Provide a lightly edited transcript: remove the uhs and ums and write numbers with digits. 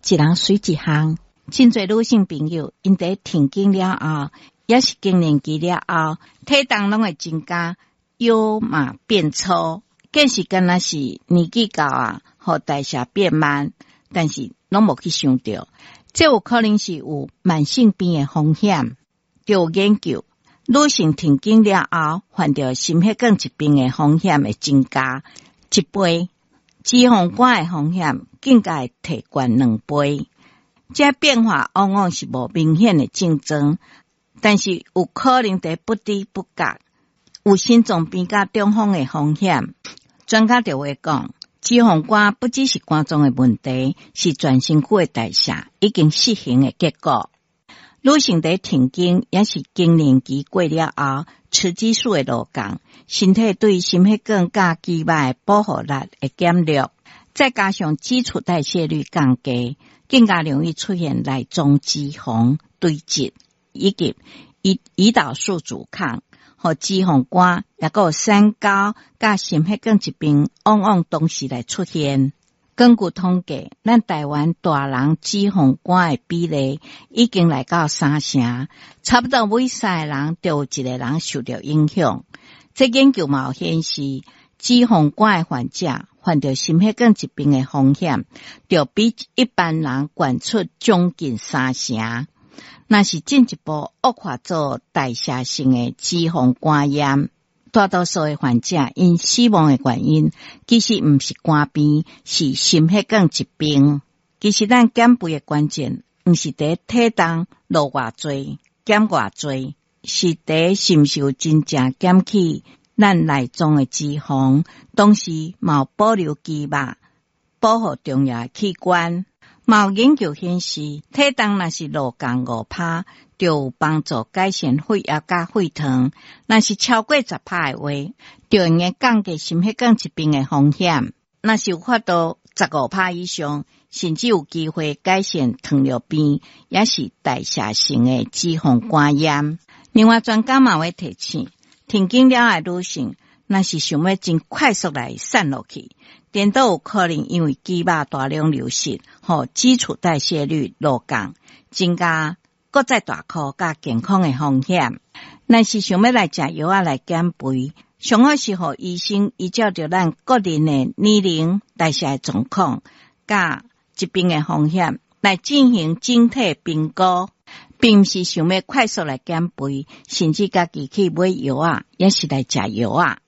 一人媠一項。真濟女性朋友，𪜶佇停經了後，抑是更年期了後，體重攏會增加，腰嘛變粗，更是敢若是年紀到啊，予代謝變慢，但是攏無去想著，這有可能是有慢性病的風險。就有研究，女性停經了後，患著心血管疾病的風險會增加一倍，脂肪肝的風險更加會提懸兩倍。這變化往往是無明顯的症狀，但是有可能佇不知不覺有心臟病佮中風的風險。專家就會講，脂肪肝不只是肝臟的問題，是全身軀的代謝已經失衡的結果。女性佇停經抑是更年期過了後，雌激素會落降，身體對心血管佮肌肉的保護力會減弱，再加上基礎代謝率降低，更加容易出現內臟脂肪堆積，以及胰島素阻抗，予脂肪肝，抑閣有三高佮心血管疾病，往往同時來出現。根據統計，咱台灣大人脂肪肝的比例已經來到三成，差不多每三個人就有一個人受著影響。這研究嘛有顯示，脂肪肝的患者患著心血管疾病的風險，就比一般人懸出將近三成。若是進一步惡化做代謝性的脂肪肝炎，大多數的患者𪜶死亡的原因，其實毋是肝病，是心血管疾病。其實咱減肥的關鍵，毋是佇體重落偌濟、減偌濟，是佇是毋是有真正減去咱內臟的脂肪，同時嘛有保留肌肉，保護重要的器官。嘛有研究顯示，體重若是落降5趴，就有幫助改善血壓佮血糖；若是超過10趴的話，就會用降低心血管疾病的風險。若是有法度15趴以上，甚至有機會改善糖尿病，抑是代謝性的脂肪肝炎。另外，專家嘛會提醒，停經了的女性，若是想欲真快速來瘦落去，顛倒有可能因為肌肉大量流失，予基礎代謝率落降，增加閣再大箍佮健康的風險。若是想欲來食藥仔來減肥，上好是予醫生依照著咱個人的年齡、代謝的狀況、佮疾病的風險來進行整體評估，並毋是想欲快速來減肥，甚至家己去買藥仔，抑是來食藥仔。